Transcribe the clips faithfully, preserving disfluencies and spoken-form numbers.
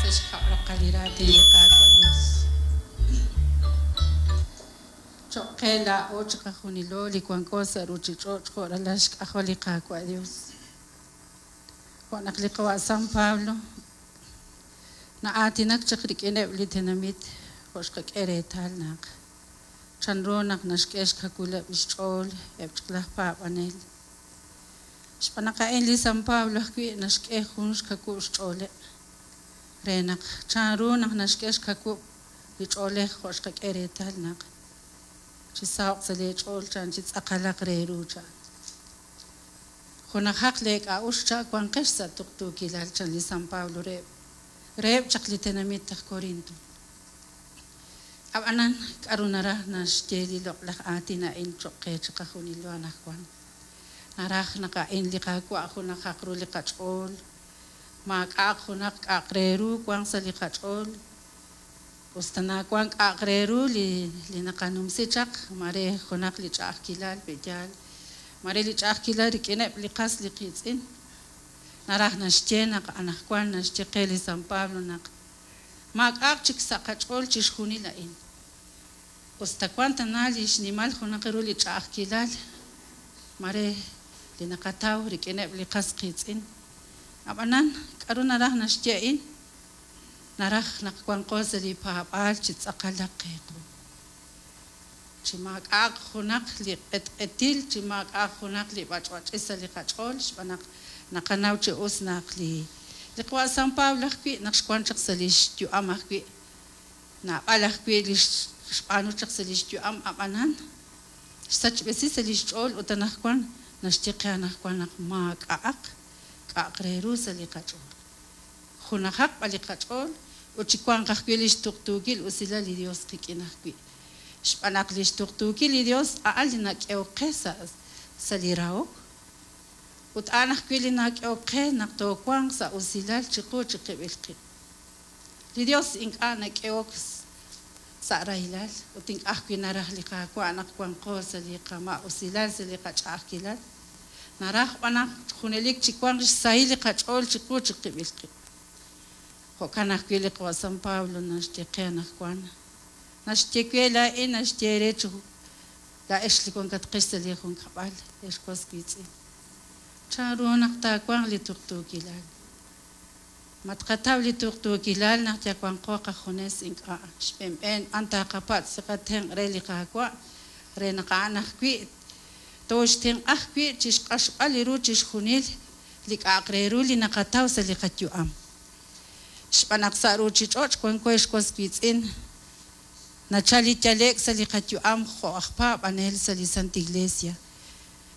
Sa' xkab' raqal li raatin li Qaawa' Dios. Cho'q qe laa'o chiqajunilo li wanko sa' ruuchich'och' jo' ralal xk'ajol li Qaawa' Dios. Jo' naq li qawa' San Pablo na'aatinak chaq rik'ineb' li tenamit jo' xqak'e reetal naq chanru naq naxk'e xkawileb' xch'ool eb' chaq laj paab'anel. Xb'aan naq a'in li San Pablo ajwi' naxk'e jun xkawub' xch'ooleb' re naq chanru naq naxk'e xkawub' li ch'oolej jo' xqak'e reetal naq chisaho'q sa' leech'ool chan chi tz'aqalaq re ru chan. Junajaq leek'a'uxl cha wanqex sa' tuqtuukilal chan li San Pablo reheb' reheb' chaq li tenamit aj Corinto. Ab'anan k'aru naraj naxye li loq'laj aatin a'in cho'q qe chiqajunilo anaqwan. Naraj naq a'in li Qaawa' junajaq ru li qach'ool, maak'a'aq junaq k'a'aq re ru wanq sa' li qach'ool, us ta nawank k'a'aq re ru li li naqanumsi chaq, mare junaq li ch'a'ajkilal pe'yaal, mare li ch'a'ajkilal rik'ineb' li qas li qiitz'in. Naraj naxye naq anaqwan naxye qe li San Pablo naq maak'a'aq chik sa' qach'ool chixjunil a'in. Us ta wank tana li xnimal junaq ru li ch'a'ajkilal, mare li naqataw rik'ineb' li qas qiitz'in. Ab'anan k'aru naraj naxye a'in? Naraj naq wanqo sa' li paab'aal chi tz'aqalaq qe qu. Chi maak'a'aq junaq li q'etq'etil, chi maak'a'aq junaq li b'ach'b'ach'il sa' li qach'ool, xb'aan naq naqanaw chi us naq li li qawa' San Pablo ajwi' naq xwank chaq sa' li xyu'am ajwi', naab'al ajwi' li xb'aanu chaq sa' li xyu'am, ab'anan xsachb'esi sa' li xch'ool ut anaqwan naxye qe anaqwan naq maak'a'aq k'a'aq re ru sa' li qach'ool. Junajaq b'an li qach'ool ut chiwanq ajwi' li xtuqtuukil usilal li Dios qik'in ajwi'. Xb'aan naq li xtuqtuukil li Dios a'an li nak'ehok qe sa' sa' li rahok ut a'an ajwi' li nak'ehok qe naq toowanq sa' usilal chiqu chiqib'il qib'. Li Dios ink'a' nak'ehok sa' rahilal ut ink'a' ajwi' naraj li Qaawa' naq wanqo sa' li qama'usilal, sa' li qach'a'ajkilal. Naraj b'an naq junelik chiwanq xsahil li qach'ool chiqu chiqib'il qib'. Jo'kan ajwi' li qawa' San Pablo naxye qe anaqwan. Naxye we laa'in naxye eere chi laa'ex li wankatqex sa' li junkab'al, ex was wiitz'in. Chanru naq taawanq li tuqtuukilal. Ma tqataw li tuqtuukilal naq yawanqo qajunes ink'a'. Xb'eenb'een b'an taaqapatz' li qatenq' re li Qaawa' re naq a'an ajwi' tooxtenq'a ajwi' chi xq'axb'al li ru chixjunil li k'a'aq re ru li naqataw sa' li qayu'am. Xb'aan naq sa' ruuchich'och' wanko ex was wiitz'in, nachal li yale'k sa' li qayu'am jo' aj paab'anel sa' li Santa Iglesia.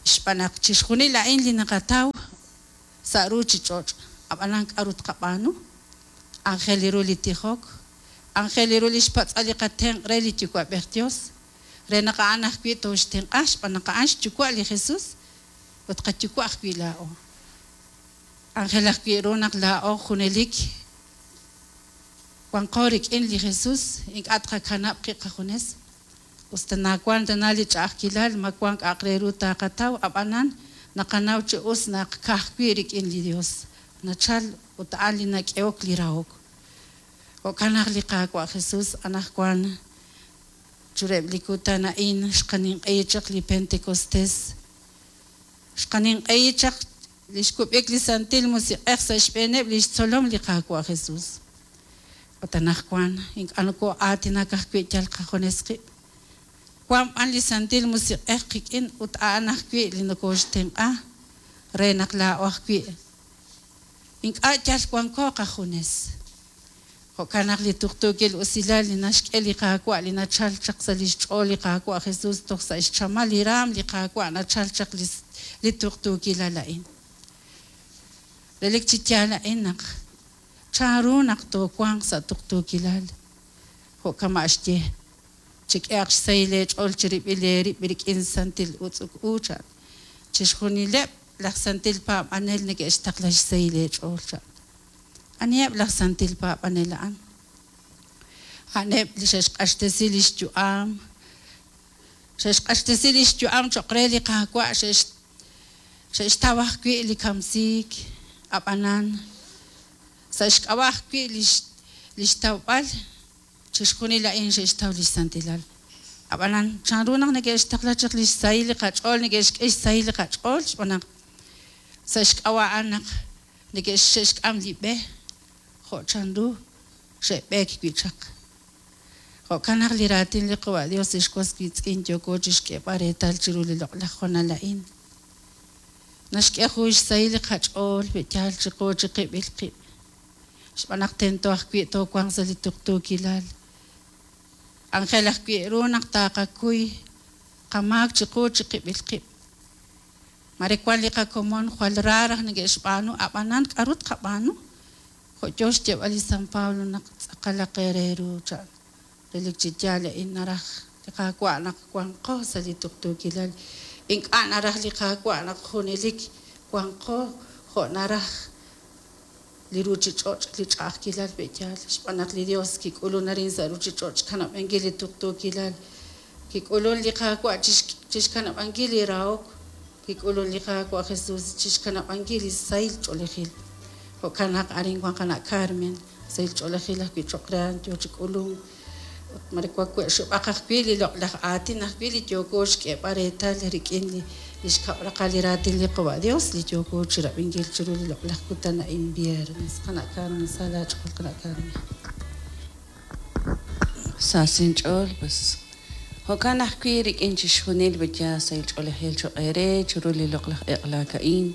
Xb'aan naq chixjunil a'in li naqataw sa' ruuchich'och', ab'anan k'aru tqab'aanu? Aajel ru li tijok, aajel ru li xpatz'al li qatenq' re li Yuwa'b'ej Dios, re naq a'an ajwi' tooxtenq'a xb'aan naq a'an xyuwa' li Jesus ut qayuwa' ajwi' laa'o. Aajel ajwi' ru naq laa'o junelik wanqo rik'in li Jesus, ink'a' tqakanab' qib' qajunes. Us ta nawank tana li ch'a'ajkilal, ma wank k'a'aq re ru taaqataw, ab'anan naqanaw chi us naq ka'ajwi' rik'in li Dios nachal ut a'an li nak'ehok li rahok. Jo'kan naq li Qaawa' Jesus anaqwan chureb' li kutan a'in xqaninq'ehi chaq li Pentecostés, xqaninq'ehi chaq li xkub'ik li Santil Musiq'ej sa' xb'eeneb' li xtzolom li Qaawa' Jesus. Ut anaqwan ink'a' nokoo'aatinak ajwi' yal qajunes qib'. Wank b'an li Santil Musiq'ej qik'in ut a'an ajwi' li nokooxtenq'a re naq laa'o ajwi' ink'a' yal wanko qajunes. Jo'kan naq li tuqtuukil usilal li naxk'e li Qaawa' li nachal chaq sa' li xch'ool li Qaawa' Jesus toj sa' xchamal li raam li Qaawa' nachal chaq li li tuqtuukilal a'in. Relik chi yaal a'in naq chanru naq toowanq sa' tuqtuukilal. Jo' kama' xye, chik'ehaq xsahil eech'ool chirib'il eerib' rik'in santil utz'uk u chan. Chixjunileb' laj santil paab'anel neke'xtaqla xsahil eech'ool chan. Aniheb' laj santil paab'anel a'an? A'aneb' li xe'xq'axtesi li xyu'am, xe'xq'axtesi li xyu'am cho'q re li Qaawa', xe'xtaw ajwi' li kamsiik, ab'anan sa' xk'ab'a' ajwi' li Li xtawb'al chixjunil a'in xe'xtaw li xsantilal. Ab'anan chanru naq neke'xtaqla chaq li xsahil li qach'ool, neke'xk'e xsahil li qach'ool xb'aan naq sa' xk'ab'a' a'an naq neke'xk'am li b'e jo' chanru xe'b'eek wi' chaq. Jo'kan naq li raatin li Qawa' Dios ex was wiitz'in yooko chixk'eeb'al reetal chiru li loq'laj honal a'in. Naxk'e jun xsahil li qach'ool pe'yaal chiqu chiqib'il qib'. Xb'aan naq tento ajwi' toowanq sa' li tuqtuukilal. Ángel ajwi' ru naq taqakuy qamaak chiqu chiqib'il qib'. Mare wan li qakomon jwal ra raj neke'xb'aanu, ab'anan k'aru tqab'aanu? Jo' yo xyeeb'al li San Pablo naq tz'aqalaq eere ru chan. Relik chi yaal a'in naraj li Qaawa' naq wanqo sa' li tuqtuukilal. Ink'a' naraj li Qaawa' naq junelik wanqo jo' naraj li ruuchich'och' li ch'a'ajkilal pe'yaal. Xb'aan naq li Dios kik'ulun arin sa' ruuchich'och' xkanab'ankil li tuqtuukilal. Kik'ulun li Qaawa' chixkanab'ankil li rahok. Kik'ulun li Qaawa' Jesus chixkanab'ankil li sahil ch'oolejil. Jo'kan naq arin wan qana' Carmen, sahil ch'oolejil ajwi' cho'q re a'an yo chi k'ulunk. Ut mare wawe' xub'aq ajwi' li loq'laj aatin ajwi' li yooko xk'eeb'al reetal rik'in li li xkab' raqal li raatin li Qawa' Dios li yooko chirab'inkil chiru li loq'laj kutan a'in viernes. Qana' Carmen, sa laach'ool qana' Carmen. Sa sinch'ool, pues jo'kan ajwi' rik'in chixjunil b'aya sahil ch'oolejil cho'q eere chiru li loq'laj eq'laak a'in.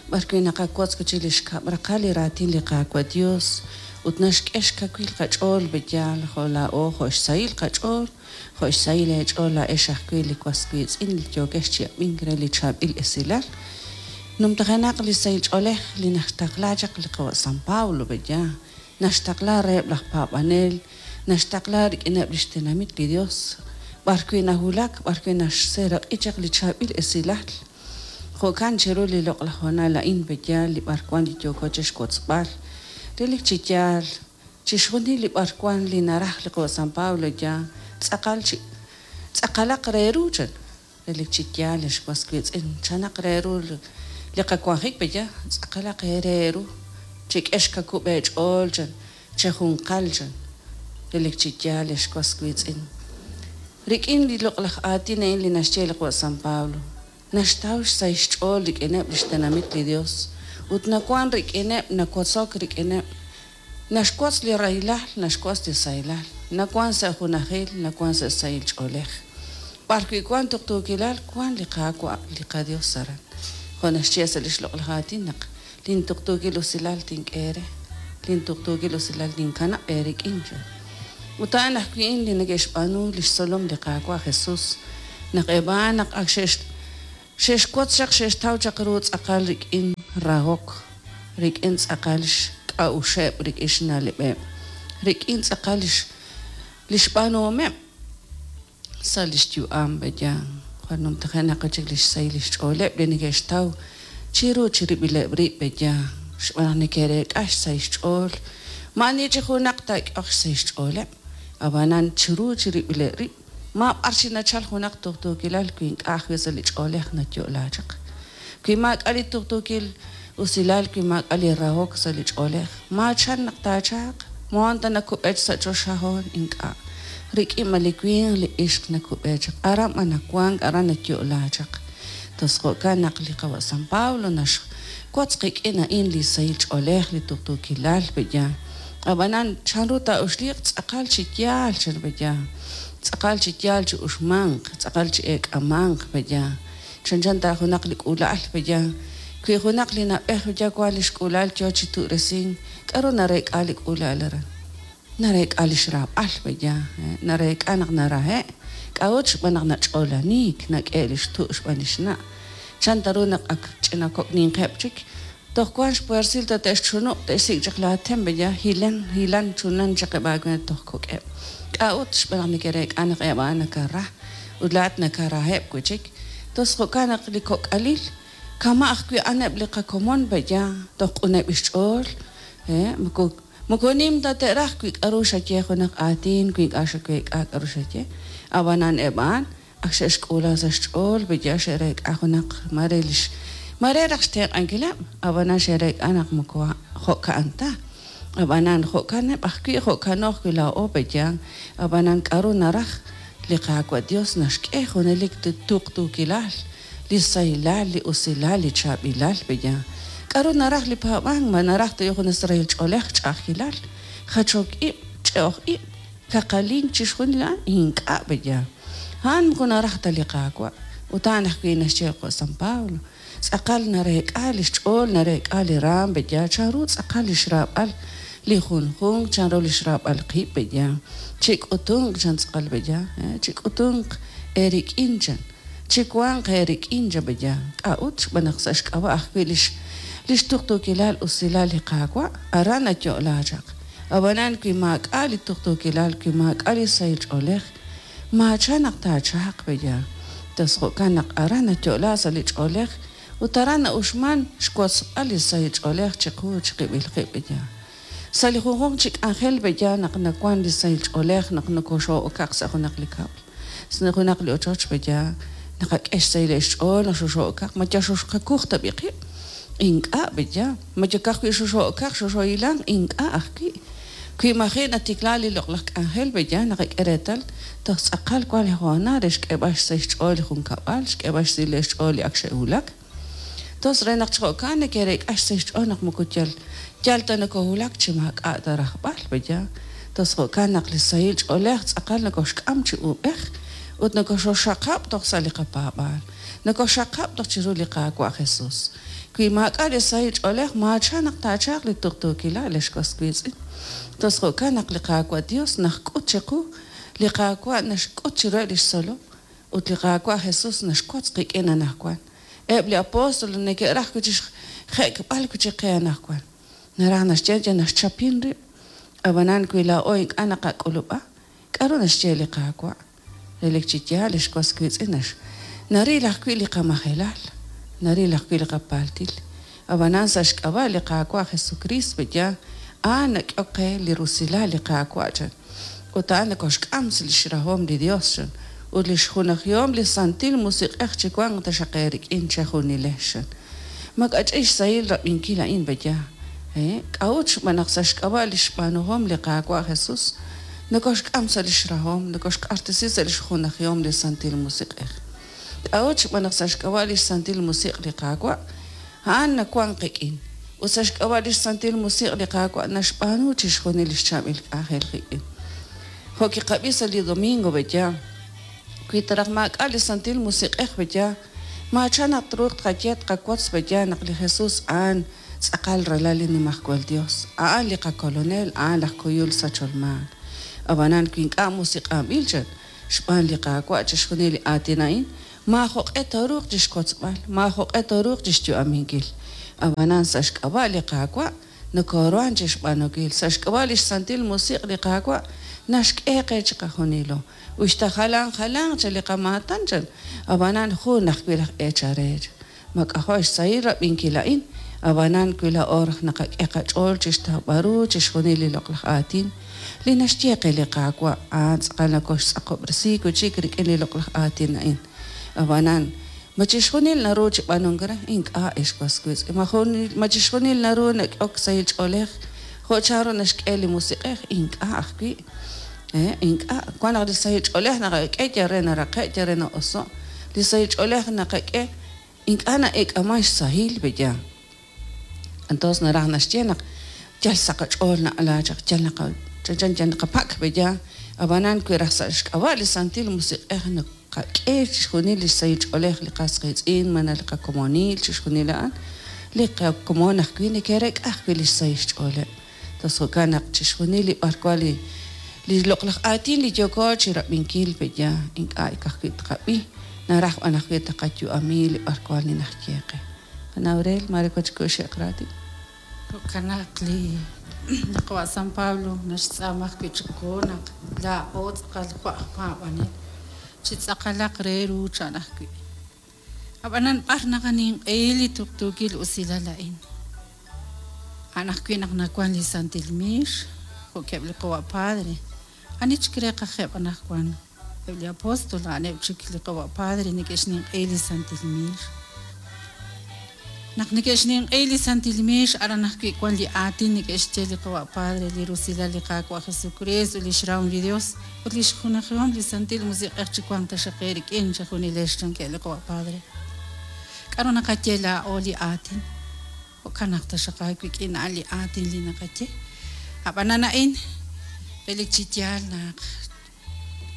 B'ar wi' naqawotz chi li xkab' raqal li raatin li Qaawa' Dios ut naxk'e xkawil qach'ool b'eyaal jo' laa'o jo' xsahil qach'ool, jo' xsahil eech'ool laa'ex ajwi' li was wiitz'in li yookex chi ab'ink re li chaab'il esilal. Numtajenaq li sahil ch'oolej li naxtaqla chaq li qawa' San Pablo b'eya, naxtaqla reheb' laj paab'anel, naxtaqla rik'ineb' li xtenamit li Dios, b'ar wi' nawulak, b'ar wi' naxseeraq'i chaq li chaab'il esilal. Jo'kan chiru li loq'laj honal a'in b'eyaal li b'ar wan li yooko chixwotzb'al. Relik chi yaal, chixjunil li b'ar wan li naraj li qawa' San Pablo ya tz'aqal chi tz'aqalaq re ru chan. Relik chi yaal ex was wiitz'in, chanaq re ru li qawanjik b'eya, tz'aqalaq re ru. Chik'e xkakub' eech'ool chan, chejunqal chan. Relik chi yaal ex was wiitz'in. Rik'in li loq'laj aatin a'in li naxye li qawa' San Pablo, naxtaw xsahil xch'ool rik'ineb' li xtenamit li Dios ut nawan rik'ineb', nawotzok rik'ineb', naxwotz li rahilal, naxwotz li sahilal, nawan sa' junajil, nawan sa' sahil ch'oolej. B'ar wi' wan tuqtuukilal, wan li Qaawa' li qaDios aran. Jo' naxye sa' li xloq'laj aatin naq lintuqtuukil usilal tink'e eere, lintuqtuukil usilal tinkanab' eerik'in chan. Ut a'an ajwi' li neke'xb'aanu li xtzolom li Qaawa' Jesus naq eb' a'an naq ak xe'x xe'xwotz chaq xe'xtaw chaq ru tz'aqal rik'in rahok, rik'in tz'aqal xk'a'uxeb', rik'in xna'leb'eb', rik'in tz'aqal li xb'aanuhomeb' sa' li xyu'am b'eya. Jwal numtajenaq chik li xsahil li xch'ooleb' li neke'xtaw chiru chirib'ileb' rib' b'eya, xb'aan naq neke'reek'a xsahil xch'ool. Ma'ani chi junaq taak'oq xsahil xch'ooleb', ab'anan chiru chirib'ileb' rib', ma b'ar chi nachal junaq tuqtuukilal wi ink'a' ajwi' sa' li ch'oolej nayo'la chaq. Wi maak'a' li tuqtuukil usilal, wi maak'a' li rahok sa' li ch'oolej, maachan naq taachaaq, moon ta nakub'ech sa' choxahoon ink'a'. Rik'in ma li winq li ixq nakub'e chaq, aran b'an nawank, aran nayo'la chaq. Tos jo'kan naq li qawa' San Pablo naxwotz qik'in a'in li sahil ch'oolej, li tuqtuukilal b'eya. Ab'anan chanru taa'uxliiq tz'aqal chi yaal chan b'eya. Tz'aqal chi yaal chi uxmanq, tz'aqal chi eek'amanq b'eya. Chanchan ta junaq li k'uula'al b'eya. Wi junaq li na'b'ej b'eya wan li xk'uula'al yo chi tu'resin, k'aru nareek'a li k'uula'al aran? Nareek'a li xraab'al b'eya, nareek'a naq narahe', k'a'ut xb'aan naq nach'oolaniik, nak'e li xtu' xb'aan li xna'. Chan ta ru naq ak ch'ina kok' ninqeb' chik, toj wan xpuersil ta te'xchunu', te'xsik' chaq laatem b'eya, hilan, hilan chunan chaq eb' aawe toj kok'eb'. K'a'ut xb'aan naq neke'reek'a naq eb' a'an nakara ut laa'at nakaraheb' wi' chik. Tos jo'kan naq li kok'alil kama' ajwi' a'aneb' li qakomon b'eya, toj q'uneb' xch'ool, eh, moko moko nim ta te'raj wi k'aru xaye junaq aatin, wi ink'a' xaweek'a k'aru xaye. Ab'anan eb' a'an ak xe'xk'uula sa' xch'ool b'eya xe'reek'a junaq mare lix mare raj xtenq'ankileb', ab'anan xe'reek'a naq moko jo'ka'an ta. Ab'anan jo'kaneb' ajwi' jo'kano ajwi' laa'o pe'yaal. Ab'anan k'aru naraj li Qaawa' Dios naxk'e junelik li tuqtuukilal, li sahilal, li usilal, li chaab'ilal pe'yaal. K'aru naraj li paab'ank? Ma naraj ta junes rahil ch'oolej, ch'a'ajkilal, jachok ib', ch'e'oj ib', kaqalink chixjunil a'an? Ink'a' pe'yaal. A'an moko naraj ta li Qaawa'. Ut a'an ajwi' naxye jo' San Pablo. Tz'aqal nareek'a li xch'ool, nareek'a li raam pe'yaal, chanru tz'aqal li xraab'al li junjunq, chanru li xraab'al qib' pe'yaal. Chik'utunq chan tz'aqal pe'yaal, chik'utunq eerik'in chan, chiwanq eerik'in chan pe'yaal. K'a'ut xb'aan naq sa' xk'ab'a' ajwi' lix lix tuqtuukilal usilal li Qaawa' aran nayo'la chaq. Ab'anan wi maak'a' li tuqtuukilal, wi maak'a' li sahil ch'oolej, maacha naq taachaq pe'yaal. Tos jo'kan naq aran nayo'la sa' li ch'oolej ut aran na'uxman xwotzb'al li sahil ch'oolej chiqu chiqib'il qib' pe'yaal. Sa' li junjunq chi k'anjel pe'yaal naq nawan li sahil ch'oolej naq nokoxo'okaq sa' junaq li kab'l, sa' junaq li ochoch pe'yaal, naqak'e xsahil xch'ool naq xoxo'okaq, ma yal xoxqakuj tab'i qib'? Ink'a' pe'yaal. Ma yal ka'ajwi' xoxo'okaq, xoxohilanq? Ink'a' ajwi'. Wi maji' natikla li loq'laj k'anjel pe'yaal naqak'e reetal toj tz'aqal wan li hoonal re xk'eeb'al xsahil xch'ool li junkab'al, xk'eeb'al xsahil xch'ool li ak xe'wulak. Tos re naq chi jo'kan neke'reek'a xsahil xch'ool naq moko yal yal ta nokohulak chi maak'a' ta rajb'al pe'yaal. Tos jo'kan naq li sahil ch'oolej tz'aqal nokoxk'am chi uub'ej ut nokoxoxaqab' toj sa' li qapaab'aal, nokoxaqab' toj chiru li Qaawa' Jesus. Wi maak'a' li sahil ch'oolej maacha naq taachaq li tuqtuukilal ex was wiitz'in. Tos jo'kan naq li Qaawa' Dios naxk'ut chiqu, li Qaawa' naxk'ut chiruheb' lix tzolom ut li Qaawa' Jesus naxwotz qik'in anaqwan. Eb' li apóstol neke'raj wi' chi xjek'b'al wi' chi qe anaqwan. Naraj naxye ye naxchapin rib'. Ab'anan wi laa'o ink'a' naqak'ulub'a, k'aru naxye li Qaawa'? Relik chi yaal ex was wiitz'in nax naril ajwi' li qamajelal, naril ajwi' li qapaltil. Ab'anan sa' xk'ab'a' li Qaawa' Jesucristo pe'yaal, a'an nak'ehok qe li rusilal li Qaawa' chan. Ut a'an nokoxk'am sa' lix rahom li Dios chan. Ut lix junajihom li Santil Musiq'ej chiwanq taxaq eerik'in chejunilex chan. Makach'i xsahil rab'inkil a'in pe'yaal. K'a'ut xb'aan naq sa' xk'ab'a' li xb'aanuhom li Qaawa' Jesus nokoxk'am sa' lix rahom, nokoxq'axtesi sa' lix junajihom li Santil Musiq'ej. K'a'ut xb'aan naq sa' xk'ab'a' lix Santil Musiq' li Qaawa' a'an nawan qik'in. Ut sa' xk'ab'a' lix Santil Musiq' li Qaawa' naxb'aanu chixjunil lix chaab'il k'anjel qik'in. Jo' kiqab'i sa' li domingo pe'yaal, wi taraj maak'a' li Santil Musiq'ej pe'yaal, maacha naq truuq tqaye tqawotz pe'yaal naq li Jesus a'an tz'aqal ralal li Nimajwal Dios, a'an li qakolonel, a'an laj kuyul sachol maak. Ab'anan wi ink'a' musiq'anb'il chan xb'aan li Qaawa' chixjunil li aatin a'in, maajoq'e tooruuq chixwotzb'al, maajoq'e tooruuq chixyu'aminkil. Ab'anan sa' xk'ab'a' li Qaawa' nokoruhan chixb'aanunkil, sa' xk'ab'a' lix Santil Musiq' li Qaawa' naxk'e qe chiqajunilo. Uxta jalan jalanq chan li qamaatan chan, ab'anan jun ajwi' laj eechal re. Mak'ajo' xsahil rab'inkil a'in, ab'anan wi laa'o raj naqak'e qach'ool chixtawb'al ru chixjunil li loq'laj aatin li naxye qe li Qaawa' a'an tz'aqal nokoxtz'aqob'resi wi' chik rik'in li loq'laj aatin a'in. Ab'anan ma chixjunil naru chi b'aanunk re? Ink'a' ex was wiitz'in. Ma junil ma chixjunil naru nak'ehok sahil ch'oolej jo' chanru naxk'e li Musiq'ej? Ink'a' ajwi'. Ink'a'. Wan naq li sahil ch'oolej naqak'e yal re naraqe', yal re na'oso'. Li sahil ch'oolej naqak'e ink'a' na'eek'aman xsahil pe'yaal. Entonces naraj naxye naq yal sa' qach'ool na'ala chaq, yal naqa chanchan yal naqapak' pe'yaal. Ab'anan wi raj sa' xk'ab'a' li Santil Musiq'ej naqak'e chixjunil li sahil ch'oolej li qas qiitz'in, malaj li qakomonil, chixjunil a'an, li qakomon ajwi' neke'reek'a ajwi' li xsahil xch'ooleb'. Tos jo'kan naq chixjunil li b'arwan li li loq'laj aatin li yooko chirab'inkil pe'yaal, ink'a' ka'ajwi' tqab'i, naraj b'an ajwi' taqayu'ami li b'arwan li naxye qe. Qanaw rel mare wan chik xe'q raatin. Jo'kan naq li li qawa' San Pablo naxtz'aama ajwi' chiqu naq laa'o tz'aqal jo' aj paab'anel chi tz'aqalaq re ru chan ajwi'. Ab'anan b'ar naqaninq'ehi li tuqtuukil usilal a'in. A'an ajwi' naq nawan li Santil Miix, jo'keb' li qawa' Padre. Ani chik re qajeb' anaqwan? Eb' li apóstol a'aneb' chik li qawa' Padre neke'xninq'ehi li Santil Miix. Naq neke'xninq'i li Santil Miix aran ajwi' wan li aatin neke'xye li Qawa' Padre, li rusilal li Qaawa' Jesucristo, li xrahom li Dios ut li xjunajihom li Santil Musiq'ej chi wanq taxaq eerik'in chejunilex chankeb' li Qawa' Padre. K'aru naqaye laa'o li aatin? Jo'kan naq taxaq aawik'in a'an li aatin li naqaye. Ab'anan a'in relik chi yaal naq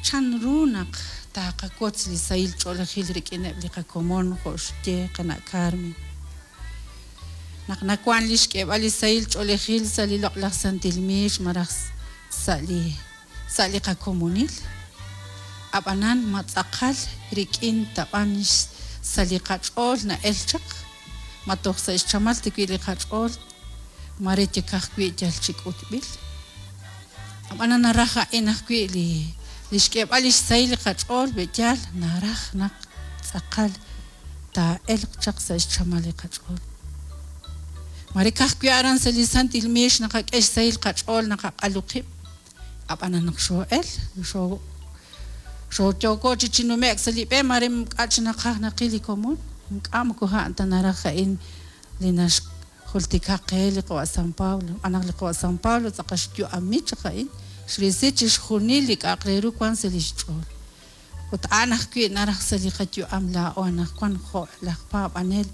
chanru naq taqawotz li sahil ch'oolejil rik'ineb' li qakomon jo' xye qana' Carmen. Naq nawan li xk'eeb'al li sahil ch'oolejil sa' li loq'laj Santil Miix malaj sa' li sa' li qakomonil. Ab'anan ma tz'aqal rik'in tab'an sa' li qach'ool na'el chaq, ma toj sa' xchamal tiwi' li qach'ool mare yakaj wi' yal chi k'utb'il. Ab'anan naraj a'in ajwi' li li xk'eeb'al li xsahil li qach'ool be'yaal naraj naq tz'aqal taa'elq chaq sa' xchamal li qach'ool. Mare kajwi' aran sa' li Santil Miix naqak'e xsahil qach'ool naqaq'alu qib'. Ab'anan naq xoo'el xoo xooyooko chi chinume'k sa' li b'e mare k'a' chi naqaj naqil li komon ink'a' moko a'an ta naraj a'in li naxjultika qe li Qawa' San Pablo. Ab'an li Qawa' San Pablo tz'aqal xyu'ami chaq a'in xrisi chixjunil li k'a'aq re ru wan sa' li xch'ool. Ut a'an ajwi' naraj sa' li qayu'am laa'o anaqwan jo' laj paab'anel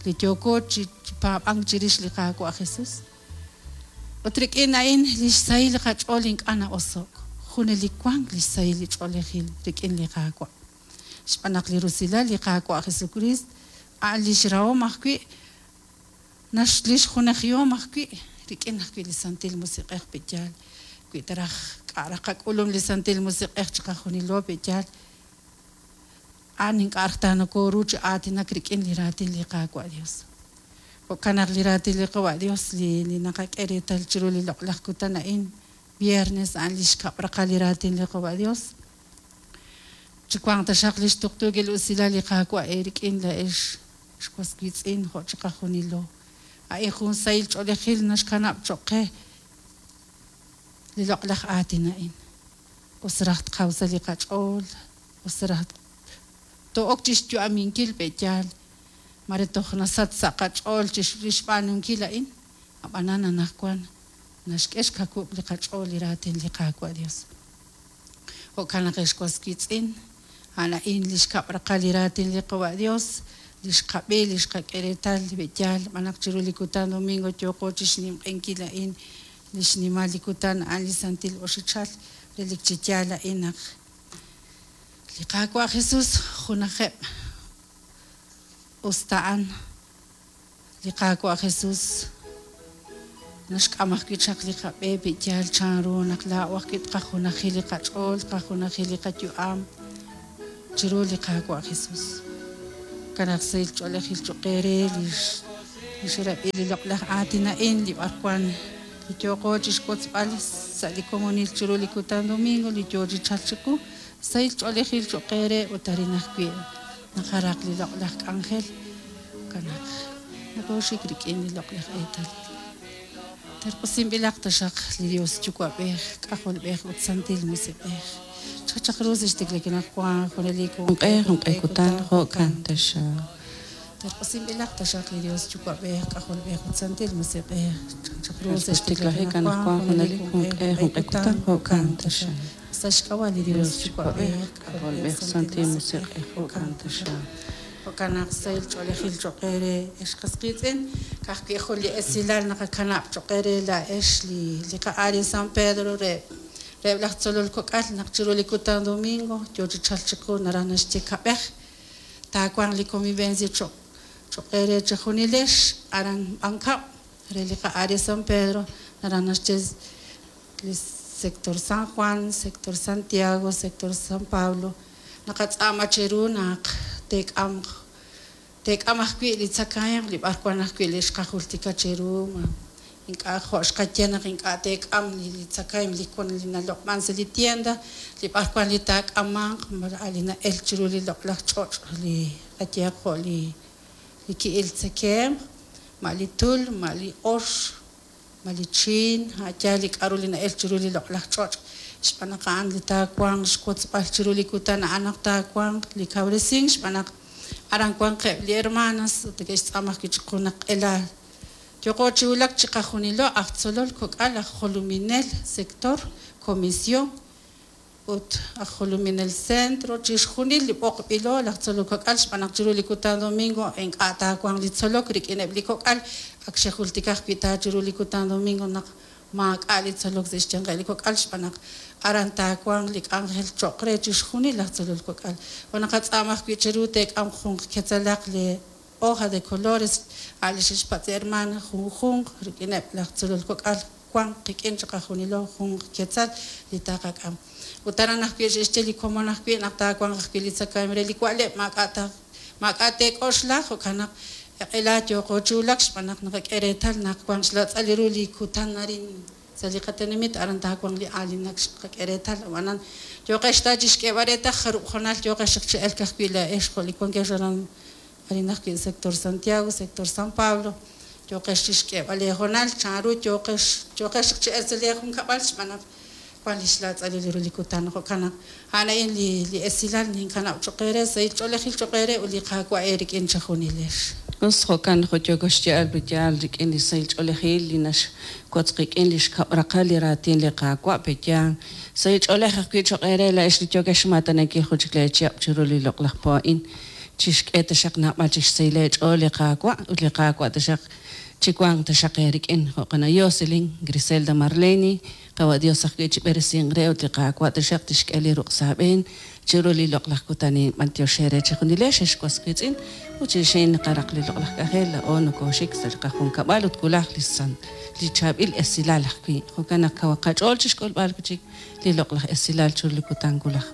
li yooko chi paab'ank chirix li Qaawa' Jesus. Ut rik'in a'in li xsahil li qach'ool ink'a' na'oso'k. Junelik wank li xsahil li ch'oolejil rik'in li Qaawa'. Xb'aan naq li rusilal li Qaawa' Jesucristo a'an li xrahom ajwi' nax li xjunajihom ajwi' rik'in ajwi' li Santil Musiq'ej pe'yaal. Wi taraj k'a' raj qak'ulum li Santil Musiq'ej chiqajunilo pe'yaal. A'an ink'a' raj taanakooru chi aatinak rik'in li raatin li Qaawa' Dios. Jo'kan naq li raatin li Qawa' Dios li li naqak'e reetal chiru li loq'laj kutan a'in viernes a'an li xkab' raqal li raatin li Qawa' Dios. Chi wanq taxaq li xtuqtuukil usilal li Qaawa' eerik'in la'ex xwas wiitz'in jo' chiqajunilo. A'in jun sahil ch'oolejil naxkanab' cho'q qe li loq'laj aatin a'in. Us raj tqaw sa' li qach'ool, us raj to'ok chi xyu'aminkil pe'yaal. Mare toj nasach sa' qach'ool chi xb'aanunkil a'in. Ab'anan anaqwan naxk'e xkakub' li qach'ool li raatin li Qaawa' Dios. Jo'kan naq ex was wiitz'in, a'an a'in li xkab' raqal li raatin li Qawa' Dios, li xqab'i, li xqak'e reetal pe'yaal. Xb'aan naq chiru li kutan domingo yooqo chi xnimq'enkil a'in li xnimal li kutan a'an li Santil Oxichal relik chi yaal a'in naq li Qaawa' Jesus junajeb' us ta a'an li Qaawa' Jesus naxk'am ajwi' chaq li qab'e pe'yaal chanru naq laa'o ajwi' tqajunajil li qach'ool, tqajunajil li qayu'am chiru li Qaawa' Jesus. Jo'kan naq sahil ch'oolejil cho'q eere li li xrab'i li loq'laj aatin a'in li b'arwan li yooqo chi xwotzb'al sa' li komonil chiru li kutan domingo li yoo chi chalk chiqu sahil ch'oolejil cho'q eere ut arin ajwi' naqaraq li loq'laj k'anjel. Jo'kan naq nakooxik rik'in li loq'laj eetalil. Terq'usinb'ilaq taxaq li Dios Yuwa'b'ej, K'ajolb'ej ut Santil Musiq'ej. Chachaq ru sa' xtiklajik wan junelik Junq'e junq'e kutan jo'kan taxaq. Terq'usinb'ilaq taxaq li Dios Yuwa'b'ej, K'ajolb'ej ut Santil Musiq'ej. Chachaq ru sa' Xtiklajik anaqwan junelik junq'e junq'e kutan jo'kan taxaq. Sa' xk'ab'a' li Dios Dios Yuwa'b'ej, Yuwa'b'ej, K'ajolb'ej, Santil Musiq'ej jo'kan taxaq. Jo'kan naq sahil ch'oolejil cho'q eere ex qas qiitz'in, ka'ajwi' jun li esilal naqakanab' cho'q eere la'ex li li qa'ari San Pedro re reheb' laj tzolol kok'al naq chiru li kutan domingo yoo chi chalk chiqu naraj naxye kab'ej taawanq li convivencia cho'q cho'q eere chejunilex aran B'ankab' re li qa'ari San Pedro naraj naxye li sector San Juan, sector Santiago, sector San Pablo. Naqatz'aama cheru naq teek'amq teek'am ajwi' li tzakahemq li b'arwan ajwi' li xqajultika cheru ma ink'a' jo' xqaye naq ink'a' teek'am li li tzakahemq li wan li naloq'man sa' li tienda li b'arwan li taak'amanq a' li na'el chiru li loq'laj ch'och' li qayehaq jo' li li ki'il tzakemq, ma' li tul, ma' li ox, ma' li chiin, a' yaal li k'aru li na'el chiru li loq'laj ch'och'. Xb'aan naq a'an li taawanq xwotzb'al chiru li kutan a'an naq taawanq li kawresink xb'aan naq Aran wanqeb' li hermanas ut neke'xtz'aama ajwi' chiqu naq q'ela yooqo chi wulak chiqajunilo aj tzolol kok'al aj jolominel sector comisión ut aj jolominel centro chixjunil li b'oqb'ilo laj tzolol kok'al xb'aan naq chiru li kutan domingo ink'a' taawanq li tzolok rik'ineb' li kok'al ak xejultika ajwi' ta chiru li kutan domingo naq maak'a' li tzolok sa' xyanqeb' li kok'al xb'aan naq aran taawanq li k'anjel cho'q re chixjunil laj tzolol kok'al jo' naqatz'aama ajwi' cheru teek'am jun ketzalaq li hoja de colores a' li xe'xpatz' hermana junjunq rik'ineb' laj tzolol kok'al wanq qik'in chiqajunilo jun ketzal li taqak'am ut aran ajwi' xe'xye li komon ajwi' naq taawanq ajwi' li tzakahemq re li wa'leb' maak'a' ta maak'a' teek'oxla jo'kan naq q'ela yooqo chi wulak xb'aan naq naqak'e reetal naq wanq xlatz'al ru li kutan arin sa' li qatenamit aran taawanq li aalinak xqak'e reetal ab'anan yooqex ta chixk'eeb'al reetal jarub' jonal yooqex chaq chi elk ajwi' laa'ex jo' li wankex aran arin ajwi' sector Santiago sector San Pablo yooqex chixk'eeb'al leejonal chanru yooqex yooqex chaq chi elk sa' leejunkab'al xb'aan naq wan li xlatz'alil ru li kutan jo'kan naq a'an a'in li li esilal ninkanab' cho'q eere sahil ch'oolejil cho'q eere ut li Qaawa' eerik'in chejunilex. Us jo'kan jo' yooko xye'al peyaal rik'in li sahil ch'oolejil li naxwotz qik'in li xkab' raqal li raatin li Qaawa' peyaal sahil ch'oolej ajwi' cho'q eere laa'ex li yookex xmaatanankil jun chik leechihab' chiru li loq'laj po a'in chixk'e taxaq naab'al chik xsahil eech'ool li Qaawa' ut li Qaawa' taxaq chiwanq taxaq eerik'in jo'kan Jocelyn Griselda Marleni qawa' Dios ajwi' chib'eresinq re ut li Qaawa' taxaq tixk'e li ruq' sa' aab'een chiru li loq'laj kutan a'in b'antiox eere chejunilex ex was wiitz'in ut chirix naqaraq li loq'laj k'anjel laa'o nokoxik sa' li qajunkab'al ut wulaj li san li chaab'il esilal ajwi' jo'kan naq kawaq qach'ool chixk'ulb'al wi' chik li loq'laj esilal chiru li kutan wulaj.